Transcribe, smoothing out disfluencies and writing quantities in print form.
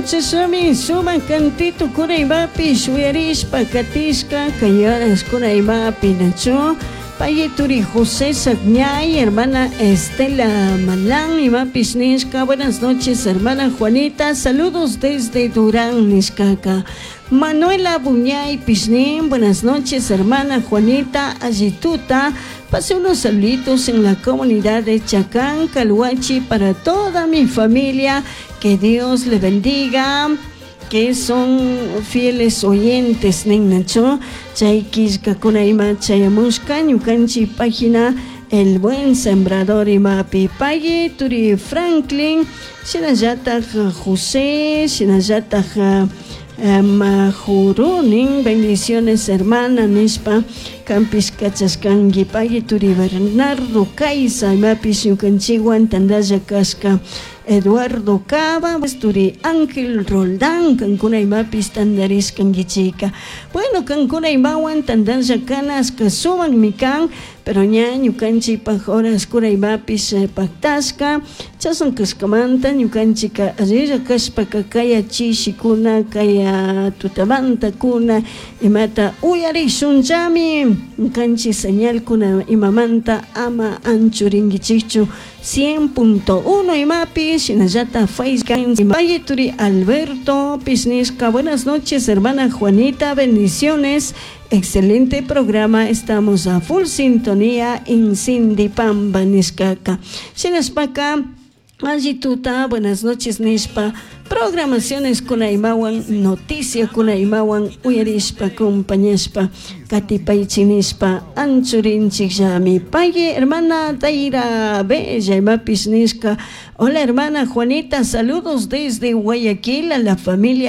Bueno, chashami sumak cantito kunaymapi shuyarishpa katishka kay horas kunaymapi nachu Payeturi José Sagñay, hermana Estela Malán, imapish nishka. Buenas noches, hermana Juanita. Saludos desde Durán, nishkaka. Manuela Buñay Pishnín, buenas noches, hermana Juanita Ayituta. Pase unos saluditos en la comunidad de Chacán, Calhuachi, para toda mi familia. Que Dios le bendiga que son fieles oyentes ninnachu chay killkakuna ima chayamushka ñukanchik página El Buen Sembrador imapi pagui turi Franklin shinallatak José shinallatak Majurunin bendiciones hermana nishpa kanpish kachashkanki pagui turi Bernardo Caiza imapish ñukanchikwan tantalla kashka Eduardo Cava, turi Ángel Roldán, kankuna imapis tantarishkankichika. Bueno, kankuna imawan tantalla kanashka sumakmi kan, pero ña ñukanchikpak horaskuna imapis paktashka, chashna kashkamanta ñukanchika allilla kashpaka kaya chishikuna, kaya tutamantakuna imata uyarishunllami ñukanchik señalkuna imamanta ama anchurinkichikchu 100.1 imapi shinallata Facebook Turi Alberto Pisnisca. Buenas noches, hermana Juanita, bendiciones. Excelente programa, estamos a full sintonía en Sindipamba, nishkaka. Shinashpaka, Allituta, buenas noches, nishpa. Programaciones kunaymawan, noticia kunaymawan, uyarishpa, compañashpa, katipaychi nishpa, anchurinchikllami. Paye, hermana Taira Bella, imapis nishka. Hola, hermana Juanita, saludos desde Guayaquil a la familia.